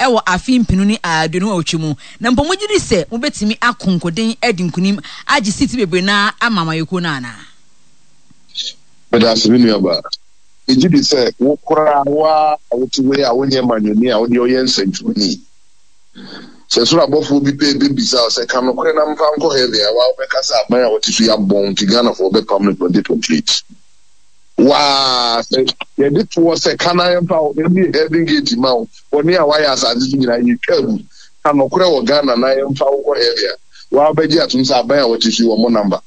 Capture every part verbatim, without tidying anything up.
Ɛwɔ afe mpenu ne aduonu awotwe mu, na mpo mogye di sɛ mobɛtumi ako nkoden adi nkunim agye seat bebree no ara ama amanyɔkuo no anaa? Meda ase me nuabaa. Megye di sɛ wo koraa wo ara a wote hɔ yi a wonyɛ manyɔni a wodeɛ woyɛ nsɛntwerɛni. Sɛ soro abɔfoɔ bi pɛ bɛbisa wo sɛ ka nokorɛ na mfa nkɔ heaven a, wo ara wobɛka sɛ aban a wɔte so yi abɔn nti Ghanafoɔ bɛpam no twenty twenty eight. Waa sɛ yɛde toɔ sɛ ka na yɛmfa wo yɛmmue heaven gate mma wo, bɔne a woayɛ asase so nyinaa yɛtwa agu, ka nokorɛ wɔ Ghana na yɛmfa wo nkɔ heaven a, waa wobɛgye atom sɛ aban a wɔte so yi wɔmmɔ number.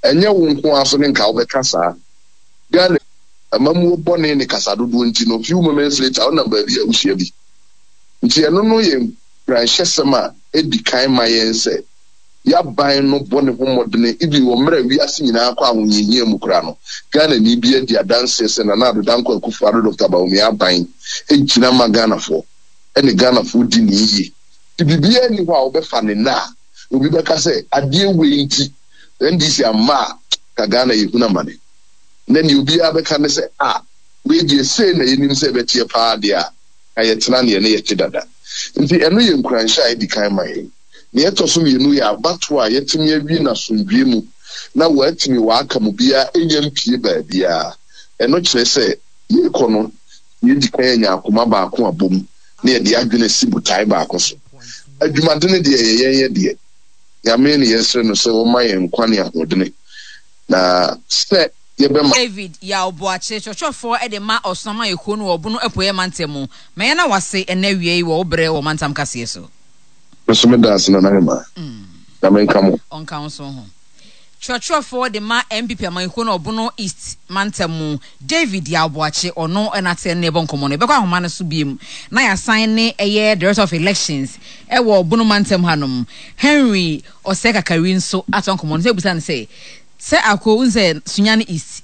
Ɛnyɛ wo nko ara so ne nka wobɛka saa. Ghana amammuo bɔne ne kasa dodoɔ nti no, few moments later wonam baabi a wohyia bi. Nti ɛno no yɛ nkuranhyɛsɛm a ɛdi kan ma yɛn sɛ y'aban no bɔ ne ho mmɔdene even wɔ mmerɛ a wiase nyinaa kɔ ahohiahia mu koraa no, Ghanani biara di adanseɛ sɛ Nana Addo Dankwa Akufo Addo Doctor Bawumia aban gyina ma Ghanafoɔ ɛne Ghanafoɔ di ne yie. Nti biribiara nni hɔ a wobɛfa no nnɛ a obi bɛka sɛ adeɛ wei nti N D C amma a ka Ghana yɛhunu amane. Nnɛ deɛ obiara bɛka ne sɛ ah, wei deɛ sei na yɛnim sɛ ɛbɛteɛ paa deɛ a, ka yɛtena neɛ ne yɛte dada. Nti ɛno yɛ nkuranhyɛ a ɛdi kan ma yɛn. Nea ɛtɔ so mmienu yɛ abatoɔ a yɛatumi awie no asomdwoeɛ mu na wɔatumi wɔaka mu biara nnya mpue baabiara. Ɛno kyerɛ sɛ yɛrekɔ no, yɛadi kan anya akoma baako abom na yɛde adwene asi botae baako so. Adwumadene deɛ ɛyɛ yɛn yɛ deɛ. Nyame ne yɛsrɛ no sɛ ɔmma yɛn nkwa ne ahoɔdene na sɛ yɛbɛma. David Yaw Boakye, kyerɛkyerɛfoɔ de ma Ɔsono Amanyɔkuo no wɔ Ɔbono Apueɛ Mantam mu. Ma yɛn na wase ɛnnɛ awia yi wɔ wo berɛ wɔ Mantam Kaseɛ so. Me nso meda ase Nana Hemaa. Nyame nka mo. Ɔnka wo nso ho. Kyerɛkyerɛfoɔ de ma N P P amanyɔkuo no Ɔbono East mantam mu, David Yaw Boakye, ɔno na ate ɛne yɛbɔ nkɔmmɔ no. Yɛbɛkɔ ahoma no so biom na yɛasan ne ɛyɛ Director of Elections ɛwɔ Ɔbono mantam hanom, Henry Osei Kakari nso ato nkɔmmɔ no. Sɛ ebisa no sɛ, sɛ ako n sɛ Sunyani East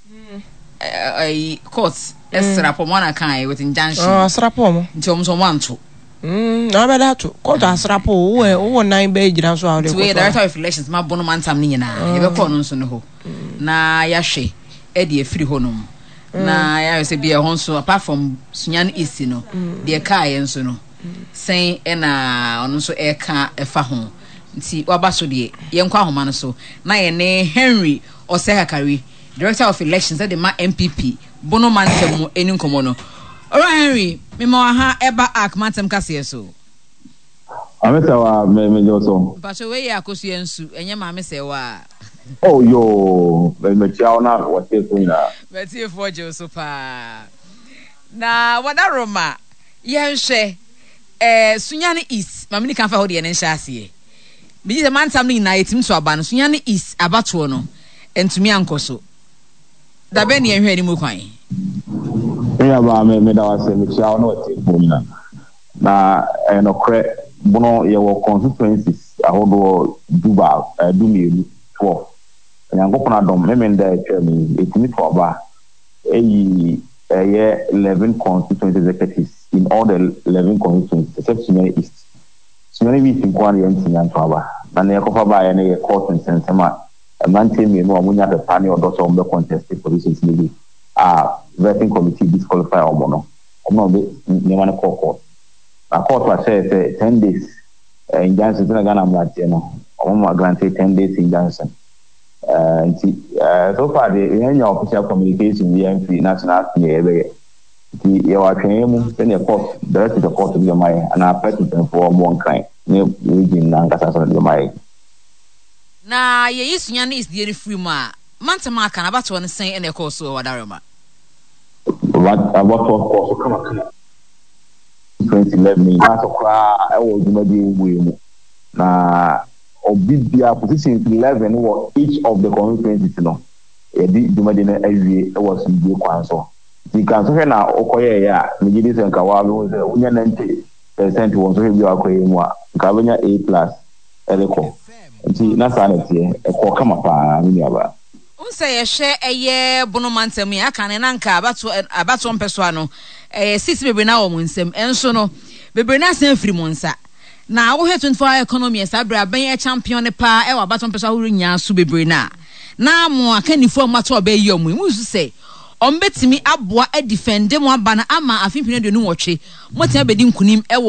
ɛyi court ɛsra pɔ mo ana kan with injunction. Asra pɔ mo. Nti wɔn nso wɔn anto. Na wabɛda ato court asra pɔ wowɔ wowɔ nan bɛyɛ gyina so a wode nti wei Director of Elections ma Bono mantam no nyinaa, yɛbɛkɔ ɔno nso no hɔ na yɛahwɛ ɛde afiri hɔ nom na yɛahwɛ sɛ bia ɛhɔ nso, apart from Sunyani East no, deɛ kaa yɛ nso no sɛn ɛna ɔno nso ɛka ɛfa ho. Nti waba so deɛ, yɛnkɔ ahoma no so na yɛne Henry Osei Kakari, Director of Elections ɛde ma N P P Bono mantam mu, ɛni nkɔmmɔ no. Owura Henry, mema wɔ ha ɛba Ark mantam kaseɛ so. Maame sɛ wa me me gye so. Mpatso, wei yɛ Akosua Nsu, ɛnyɛ Maame sɛ wa. Oh yoo, me mekyia wo na wɔtie so nyinaa. Matiefoɔ gye wo so paa. Na wɔda Roma, yɛnhwɛ ɛɛ Sunyani East, maame ni kan fa hɔ deɛ ne nhyɛ aseɛ. Megye sɛ mantam no nyinaa yɛtumi so aba no, Sunyani East abatoɔ no ntumi ankɔ so. Dabɛn ne yɛnhwɛ anim kwan? Me nuabaa, me meda wo ase, mekyia wo na wɔtie fo nyinaa. Na ɛyɛ nokorɛ, Bono yɛwɔ constituencies ahodoɔ du baa ɛɛ du mmienu, twelve. Onyankopɔn adom, Memenda a atwa mu yi, yɛtumi to aba ɛyi ɛyɛ eleven constituency executives in all the eleven constituencies except Sunyani East. Sunyani East nko ara na yɛntumi anto aba. Na nea yɛkɔfa baeɛ no yɛ court nsɛnsɛm a mmeranteɛ mmienu a wɔnya pepa ne ɔdɔ sɛ wɔbɛ contest positions no bi a vetting committee disqualify wɔn no, wɔn na wɔde nneɛma no kɔɔ court. Na court ahyɛ sɛ ten days uh, injunction sɛ na Ghana mmeranteɛ no wɔn ma grant ten days injunction. Uh, nti uh, so far de yɛn nya official communication bi yɛn national deɛ yɛbɛyɛ, nti yɛwɔ atwɛn mu sɛdeɛ court directive of court bi bɛma yɛ anaa party mpanyinfoɔ wɔn Nkran ne region nankasa so de bɛma yɛ. Na yɛyi Sunyani East deɛ no firi mu a, mantam aka no abatoɔ no sɛn ɛna ɛkɔɔ so wɔ Wadarema? Abatoɔ kɔɔ so kamakama twenty eleven nyinaa so koraa ɛwɔ dwumadie yi mu, na obi bia positions eleven wɔ each of the constituencies no, yɛde dwumadie no awie wɔ asomdwie kwan so. Nti nka nsɔhwɛ na wokɔyɛɛyɛ a, megye di sɛ nka waa bɛhu sɛ wonya ninety percent wɔ nsɔhwɛ bi a wakɔyɛ mu a, nka wobɛnya A plus ɛde kɔ. Nti na saa na ɛteɛ, ɛkɔɔ kama paa, me nuabaa. N sɛ yɛhwɛ ɛyɛ Bono mantam yi aka ne na nka abatoɔ abatoɔ mpɛsoa no ɛyɛ sisi bebree na wɔ mo nsam, ɛnso no bebree na asan afiri mo nsa. Na wohwɛ twenty four hour economy, saa bere abɛn ɛ champion ne paa ɛwɔ abatoɔ mpɛsoa ahorow nyinaa so bebree na na mo akannifoɔ a mo ato ɔbɛyi ɔmo yi mo nso sɛ ɔmo bɛtumi aboa adefend mo aba no ama afe mpem aduonu nwɔtwe mo tena bɛdi nkunim ɛwɔ